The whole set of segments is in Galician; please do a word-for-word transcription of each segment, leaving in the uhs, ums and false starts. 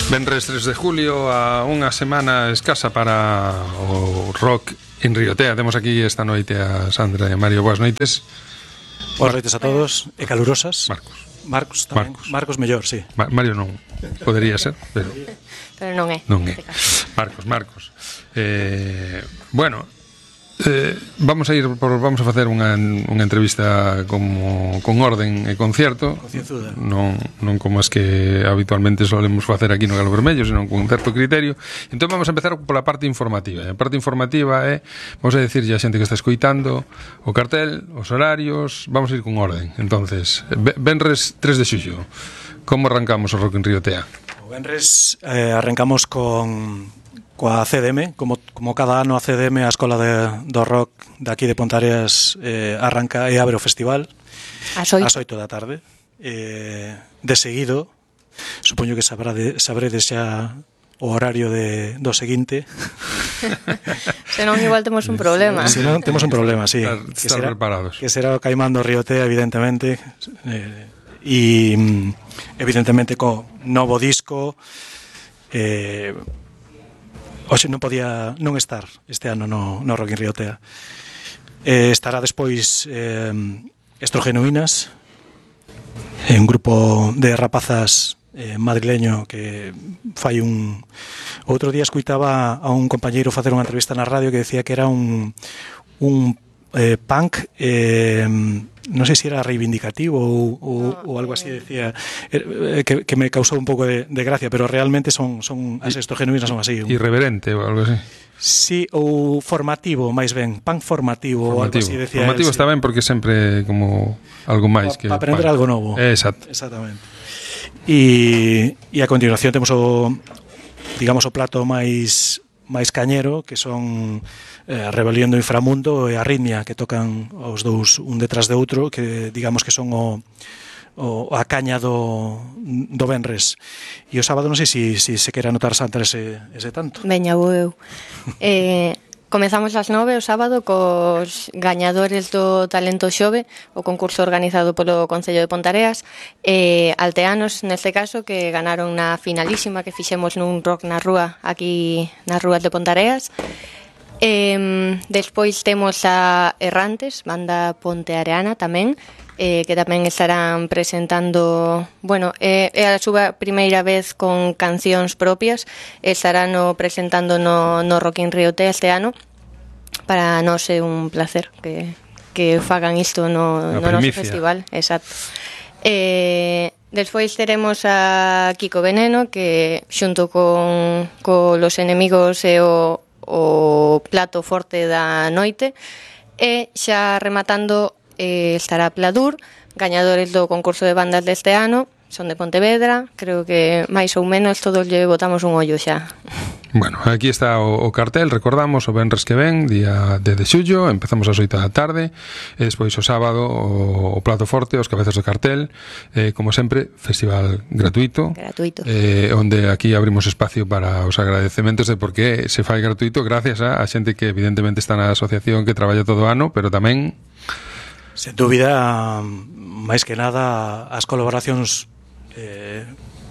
Venres tres de julio, a unha semana escasa para o rock en Riotea. Temos aquí esta noite a Sandra e a Mario. Boas noites. Boas noites a todos e calurosas. Marcos. Marcos tamén. Marcos, Marcos mellor, sí. Ma- Mario non podería ser, pero Pero non é. non é. Marcos, Marcos. Eh, bueno, eh, vamos a ir por, vamos a facer unha, unha entrevista como con orden e concierto. Concienzuda. Non, non como as que habitualmente solemos facer aquí no Galo Vermello, senón con un certo criterio. Entón vamos a empezar pola parte informativa. A parte informativa é, vamos a decirlle a xente que está escoitando o cartel, os horarios, vamos a ir con orden. Entonces, venres tres de xullo, como arrancamos o Rock en Riotea? O venres eh, arrancamos con coa C D M, como, como cada ano a C D M, a Escola de, do Rock de aquí de Pontareas, eh, arranca e abre o festival As oito. ás oito da tarde. Eh, de seguido, supoño que sabrá de, sabredes xa o horario de, do seguinte. Senón igual temos un problema. Se non, temos un problema, sí. Estar, que estar será, preparados. que será o Caimán do Riotea, evidentemente. Eh, e, evidentemente, co novo disco... Eh, Oxe, non podía non estar este ano no, no Rock in Riotea. Eh, estará despois eh, Estrogenuínas, un grupo de rapazas eh, madrileño que fai un... Outro día escuitaba a un compañeiro facer unha entrevista na radio que decía que era un, un eh, punk... Eh, non sei se era reivindicativo ou, ou, ou algo así, decía eh, que, que me causou un pouco de, de gracia, pero realmente son, son as estrogenuínas son así. Un... Irreverente ou algo así. Sí, ou formativo, máis ben, punk formativo, ou algo así, decía. Formativo él, está sí. ben porque sempre como algo máis que... Para aprender algo novo. Eh, exacto. Exactamente. E, e a continuación temos o, digamos, o plato máis máis cañero, que son eh, Rebelión do Inframundo e Arritmia, que tocan os dous un detrás de outro, que digamos que son o, o a caña do, do venres. E o sábado non sei se si, si se quere anotar Santa ese, ese tanto. Veña, vou eu. Eh, comezamos ás nove o sábado cos gañadores do Talento Xove, o concurso organizado polo Concello de Pontareas, e alteanos, neste caso, que ganaron na finalísima que fixemos nun rock na rúa, aquí nas rúas de Pontareas. Eh, despois temos a Errantes, banda ponteareana tamén, eh, que tamén estarán presentando, bueno, é, é a súa primeira vez con cancións propias, estarán no, presentando no, no Rock in Riotea este ano. Para nós é un placer que, que fagan isto no, no noso festival. Exacto. Eh, despois teremos a Kiko Veneno, que xunto con, con Los Enemigos e o, o plato forte da noite, e xa rematando eh, estará Pladur, gañadores do concurso de bandas deste ano, son de Pontevedra, creo que máis ou menos todos lle botamos un ollo xa. Bueno, aquí está o, o cartel, recordamos, o venres que ven, día dez de xullo, empezamos ás oito da tarde, e despois o sábado o, o plato forte, os cabezas do cartel, eh, como sempre, festival gratuito, gratuito. Eh, onde aquí abrimos espacio para os agradecementos de por que se fai gratuito, gracias a, a xente que evidentemente está na asociación que traballa todo o ano, pero tamén... Sen dúbida, máis que nada, as colaboracións eh,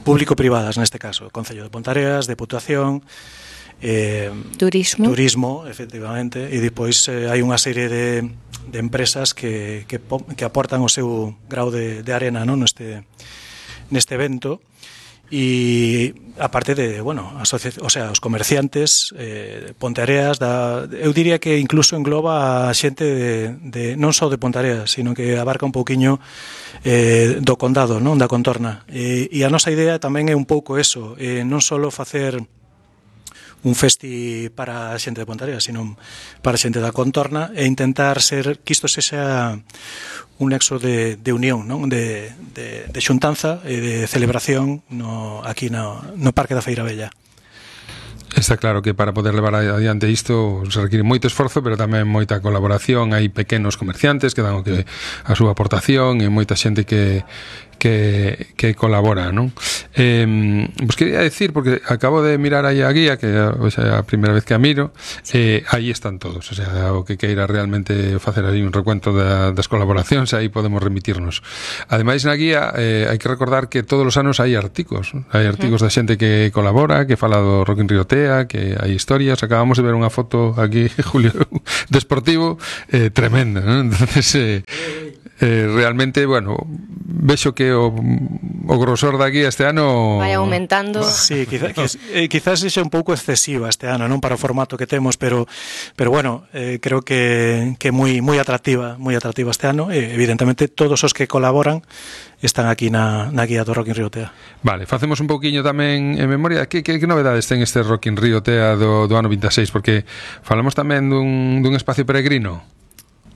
público-privadas, neste caso, Concello de Pontareas, Deputación, eh, Turismo. Turismo, efectivamente, e depois eh, hai unha serie de, de empresas que, que, que aportan o seu grau de, de arena, non, neste, neste evento. E aparte de, bueno, asocia- o sea, os comerciantes, eh, Ponteareas, da, eu diría que incluso engloba a xente de, de non só de Ponteareas, sino que abarca un pouquiño eh, do condado, non, da contorna. E, e a nosa idea tamén é un pouco eso, eh, non só facer un festi para a xente de Ponteareas, sino para a xente da contorna, e intentar ser que isto sexa un nexo de, de unión, non? De, de, de xuntanza e de celebración no, aquí no, no Parque da Feira Bella. Está claro que para poder levar adiante isto se require moito esforzo, pero tamén moita colaboración. Hai pequenos comerciantes que dan o que a súa aportación e moita xente que que, que colabora, non? Eh, pues quería decir, porque acabo de mirar aí a guía, que o sea, a primeira vez que a miro, eh, aí están todos, o sea, o que queira realmente facer aí un recuento da, das colaboracións, aí podemos remitirnos. Ademais, na guía eh, hai que recordar que todos os anos hai artigos, hai artigos da xente que colabora, que fala do Rock in Rio Tea, que hai historias. Acabamos de ver unha foto aquí, Julio, desportivo, eh, tremenda, ¿no? Entonces, eh, eh, realmente, bueno, vexo que o, o grosor da guía este ano vai aumentando. Sí, quizá, quiz, eh, quizás sexa un pouco excesiva este ano, non, para o formato que temos, pero pero bueno, eh, creo que que moi moi atractiva, moi atractiva este ano, e evidentemente todos os que colaboran están aquí na, na guía do Rock in Rio Tea. Vale, facemos un pouquiño tamén en memoria. Que, que, que novedades ten este Rock in Rio Tea do, do ano vinte e seis? Porque falamos tamén dun, dun espacio peregrino.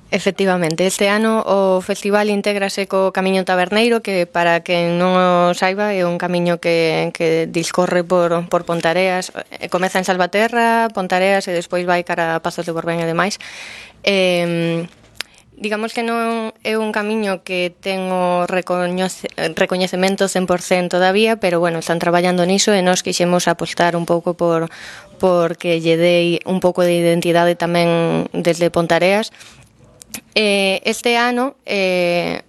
Efectivamente, este ano o festival intégrase co Camiño Taberneiro, que para quen non o saiba é un camiño que, que discorre por, por Pontareas, comeza en Salvaterra, Pontareas e despois vai cara a Pazos de Borbén e demais. Eh, digamos que non é un camiño que ten o recoñece, recoñecemento cen por cento todavía, pero bueno, están traballando niso e nós quixemos apostar un pouco por porque lle dei un pouco de identidade tamén desde Pontareas. Eh, este ano eh,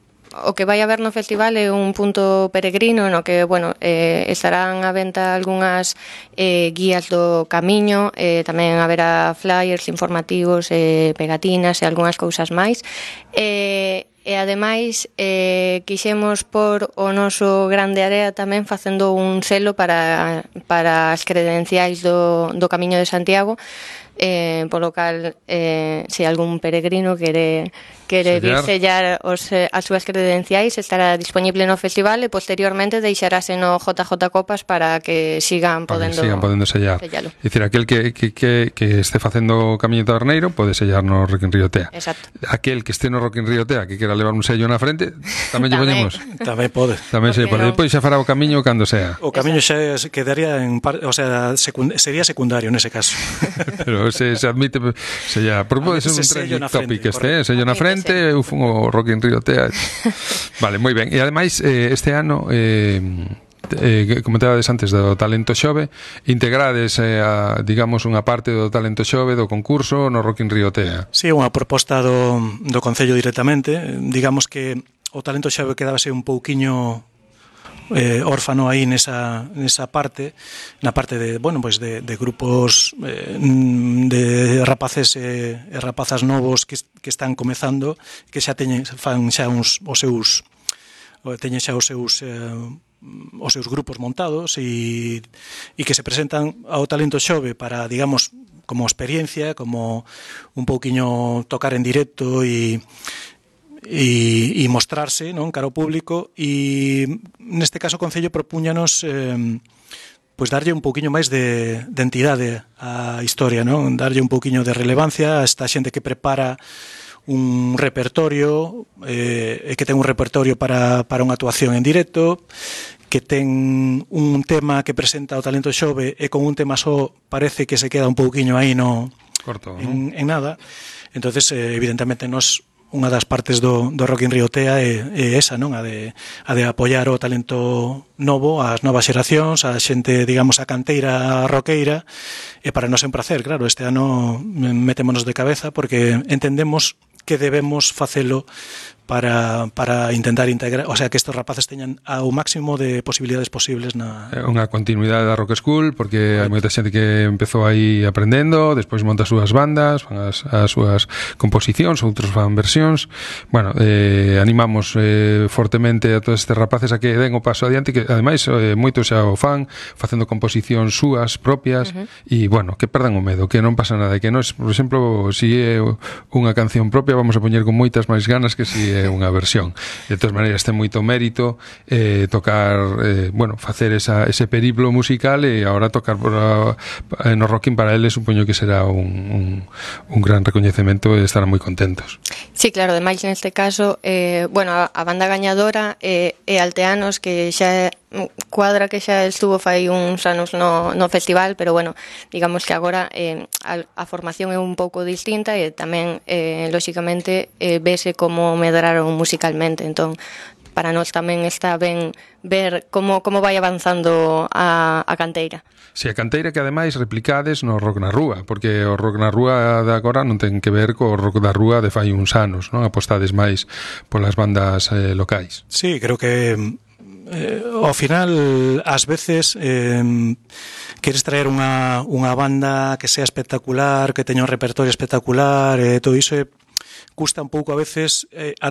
o que vai haber no festival é un punto peregrino no que, bueno, eh, estarán á venta algunhas eh, guías do camiño, eh, tamén haberá flyers informativos, eh, pegatinas e algunhas cousas máis. Eh, e ademais eh, quixemos por o noso Grande Area tamén facendo un selo para, para as credenciais do, do Camiño de Santiago, eh, polo cal eh, se algún peregrino quere, quere vir sellar os, as súas credenciais, estará disponible no festival e posteriormente deixarase no J J Copas para que sigan podendo, sigan podendo sellar. sellalo. É dicir, aquel que, que, que, que este facendo o Camiño Taberneiro pode sellar no Rock in Rio Tea. Exacto. Aquel que este no Rock in Rio Tea que quera levar un sello na frente, tamén lle poñemos. Tamén pode. Tamén se pode. Depois xa fará o camiño cando sea. O camiño xa quedaría en par, o sea, secund, sería secundario nese caso. Pero se, se admite se ya, porque pode ser un trending topic este, eh? Sello na frente, eu fun o Rock in Rio Tea. Vale, moi ben. E ademais eh, este ano eh, eh, comentabades antes do talento xove, integrades eh, a, digamos, unha parte do talento xove do concurso no Rock in Rio Tea. Si, sí, unha proposta do, do Concello directamente. Digamos que o talento xove quedábase un pouquiño eh, órfano aí nesa, nesa parte, na parte de, bueno, pues de, de grupos eh, de rapaces e eh, rapazas novos que, que están comezando, que xa teñen, fan xa uns, os seus, teñen xa os seus eh, os seus grupos montados e, e que se presentan ao talento xove para, digamos, como experiencia, como un pouquiño tocar en directo e e, e mostrarse, non, cara ao público. E neste caso o Concello propúñanos eh, pois darlle un pouquiño máis de, de entidade á historia, non, darlle un pouquiño de relevancia a esta xente que prepara un repertorio eh, e que ten un repertorio para, para unha actuación en directo, que ten un tema que presenta o talento xove e con un tema só parece que se queda un pouquiño aí no corto, en, en nada. Entonces, eh, evidentemente nos unha das partes do, do Rock in Rio Tea é, é esa, non? A de, a de apoiar o talento novo, as novas xeracións, a xente, digamos, a canteira roqueira, e para nós é un placer, claro, este ano metémonos de cabeza porque entendemos que debemos facelo para, para intentar integrar, o sea, que estos rapaces teñan ao máximo de posibilidades posibles na... Unha continuidade da Rock School, porque hai moita xente que empezou aí aprendendo, despois monta as súas bandas, fan as, as súas composicións, outros fan versións. Bueno, eh, animamos eh, fortemente a todos estes rapaces a que den o paso adiante, que ademais eh, moitos xa o fan, facendo composicións súas propias, e, uh-huh. bueno, que perdan o medo, que non pasa nada, que nos, por exemplo, si é unha canción propia, vamos a poñer con moitas máis ganas que si é unha versión. De todas maneiras, ten moito mérito eh, tocar, eh, bueno, facer esa, ese periplo musical e agora tocar por a, no Rocking para eles supoño que será un, un, un gran recoñecemento e estarán moi contentos. Sí, claro, ademais neste caso eh, bueno, a, a banda gañadora é eh, Alteanos, que xa cuadra que xa estuvo fai uns anos no, no festival, pero bueno, digamos que agora eh, a, a formación é un pouco distinta e tamén, eh, lóxicamente, eh, vese como medraron musicalmente, entón para nós tamén está ben ver como, como vai avanzando a, a canteira. Si a canteira que ademais replicades no rock na rúa, porque o rock na rúa de agora non ten que ver co rock da rúa de fai uns anos, non? Apostades máis polas bandas eh, locais. Sí, creo que eh, ao final ás veces eh, queres traer unha, unha banda que sea espectacular, que teña un repertorio espectacular, e eh, todo iso eh, custa un pouco a veces eh, a